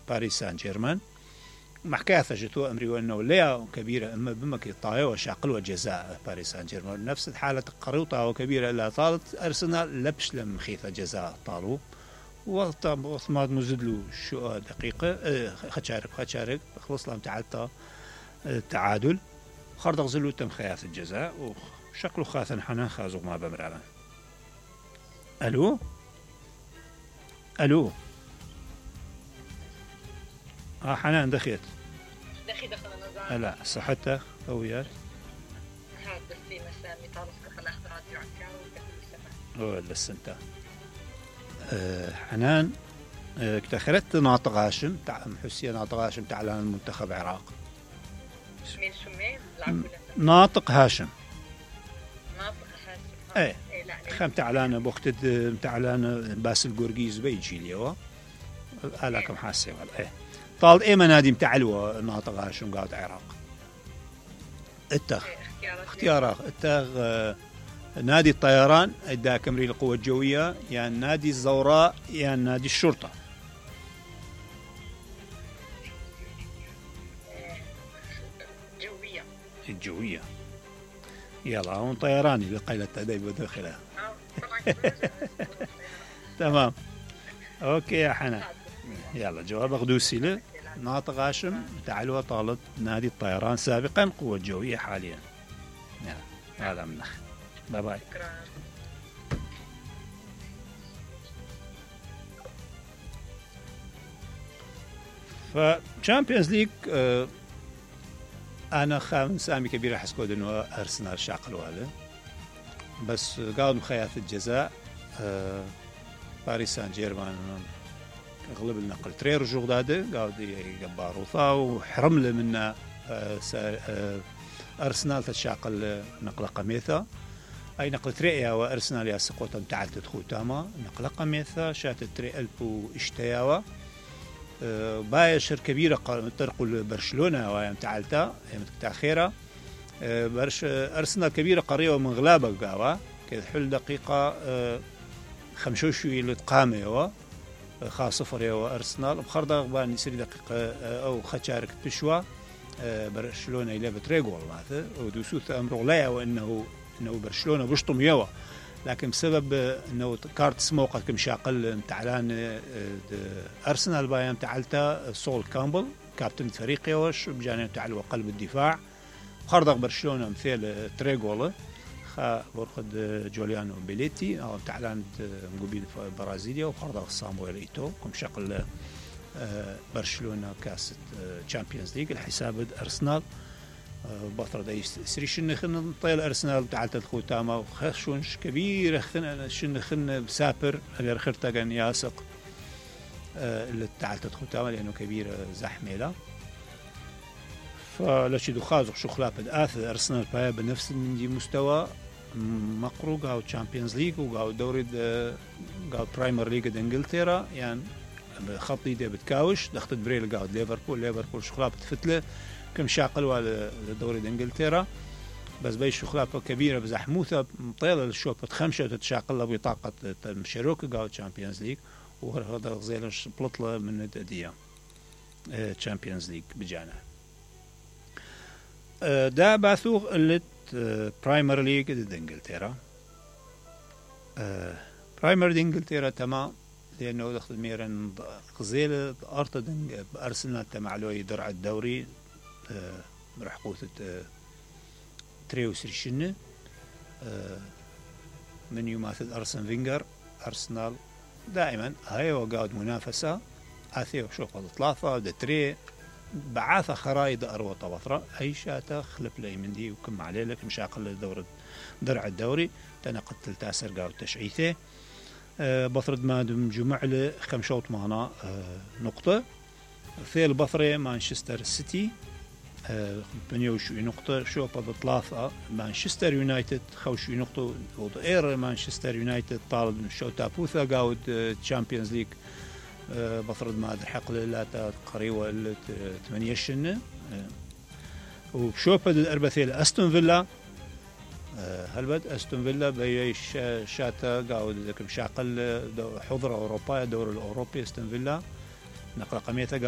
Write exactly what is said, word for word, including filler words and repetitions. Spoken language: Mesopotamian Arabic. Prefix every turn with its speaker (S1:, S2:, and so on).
S1: باريس سان جيرمان محكاة جتو أمري وأنه ليا كبيرة أما بمك طاية وشاقل جزاء باريس سان جيرمان نفس الحالة قريطة وكبيرة لا طالت أرسنال لبش لم خيثة جزاء طالو وثماد مزدلو شو دقيقة اه خشارك خشارك خلص لهم تعالتا التعادل خرج غزلو تم خياث الجزاء وشكله خاثن حنا خازو ما بمرعنا. ألو ألو اه حنان دخيت
S2: دخي دخل نظام
S1: لا صحتك قويات
S2: هاد بس في مسامي طالس كفل اختراض يعكا وكفل السماء
S1: ولا السنتا أه حنان أه اكتخرت ناطق هاشم تاع حسين ناطق هاشم تاع المنتخب العراق
S2: مين شمين
S1: ناطق هاشم
S2: ناطق هاشم
S1: ايه خم تعلان بوقت تعلان باسل قرقيز بيجي اليوم الاكم حاسه ولا ايه طال ايه منادي متعلوه ناطق هاشم قاعد عراق اتخ اختيارات اتخ نادي الطيران ادى كمري القوة الجوية يعني نادي الزوراء يعني نادي الشرطة
S2: جوية
S1: الجوية يلا هون طيراني بقيلة تدايب وداخلها تمام اوكي يا حنان يلا جواب قدوسي له ناطق هاشم تعالوا طالب نادي الطيران سابقا قوة جوية حاليا يلا هذا منخ باي باي فشامبيونز ليج آه انا خامس سامي كبير احس كود انه ارسنال شاقل وهذا بس قاعد مخيات الجزاء آه باريس سان جيرمان غلب النقل ترير جوغداده قاعد يقباروثا وحرم له من آه آه ارسنال تشاقل نقله قميثه اي نقله تريا وارسنال يا سقوطا تعدد خوتاما نقله قميثه شات تري البو اشتياوا أه بايشر كبيره ترقل برشلونه ويا تعالتا تاخيره أه برش ارسنال كبيره قريبه من غلابه قاوا كذا حل دقيقه أه خمسوشي لتقامه خاص صفر يا ارسنال بخرده بان يصير دقيقه أه او خشارك تشوا أه برشلونه الى بتريغول هذا ودوسوث امر لا وانه انه برشلونه بشطم يوا لكن بسبب انه كارت سموقه كم شاقل تعلان ارسنال بايام تعلتا سول كامبل كابتن فريق يوش بجانب تعلو قلب الدفاع خرج برشلونه مثل تريغول خا برخد جوليانو بيليتي او تعلان مقبل برازيليا وخرج صامويل ايتو كم شاقل برشلونه كاس تشامبيونز ليج الحساب ارسنال بطرة دا يسري شن خن طيل أرسنال تعالت الخوتامة وخشونش كبير خن شن خن بسافر غير خرطة كان ياسق اللي تعالت الخوتامة لأنه كبير زحمة لا فلاشي دخازق شو خلاب الآث أرسنال بايا بنفس من مستوى مقروق أو تشامبيونز ليج أو دوري أو برايمر ليج إنجلترا يعني خطي ده بتكاوش دخلت بريل قاعد ليفربول ليفربول شو خلاب تفتله كم شاقل على دوري انجلترا بس بي شخلافه كبيره بزحموثه مطيله الشوط خمسه تتشاقل بطاقه مشروك قاو تشامبيونز ليج وهذا غزيلش بلطله من الديه تشامبيونز ليج بجانا دا باثوغ اللي برايمر ليج ضد انجلترا برايمر دي انجلترا تمام لانه دخل ميرن غزيله ارتد ارسنال تمعلوي درع الدوري أه راح قوت أه تريوس ريشنة أه من يماثل أرسن فينجر أرسنال دائما هاي وقاعد منافسة آثيو شوف الثلاثة ده تري بعاثة خرايد أروى طبطرة أي شاتا خلف لي من دي وكم عليه لك مش أقل الدورة درع الدوري تنقل تلتاسر قاعد تشعيثه أه بطرد ما دم جمع له خمشوط معنا أه نقطة في البطرة مانشستر سيتي بنيوشو نقطة شو بض ثلاثة مانشستر يونايتد خوشو نقطة وإير مانشستر يونايتد طالب شو تابوثا قاود تشامبيونز ليج بفرض ما حق لا قريبة ثمانية شنة وشو بد الأربثيل أستون فيلا هل أستون فيلا بيش شاتا قاود ذاك مشاقل حضرة أوروبا دور الأوروبي أستون فيلا نقل قميته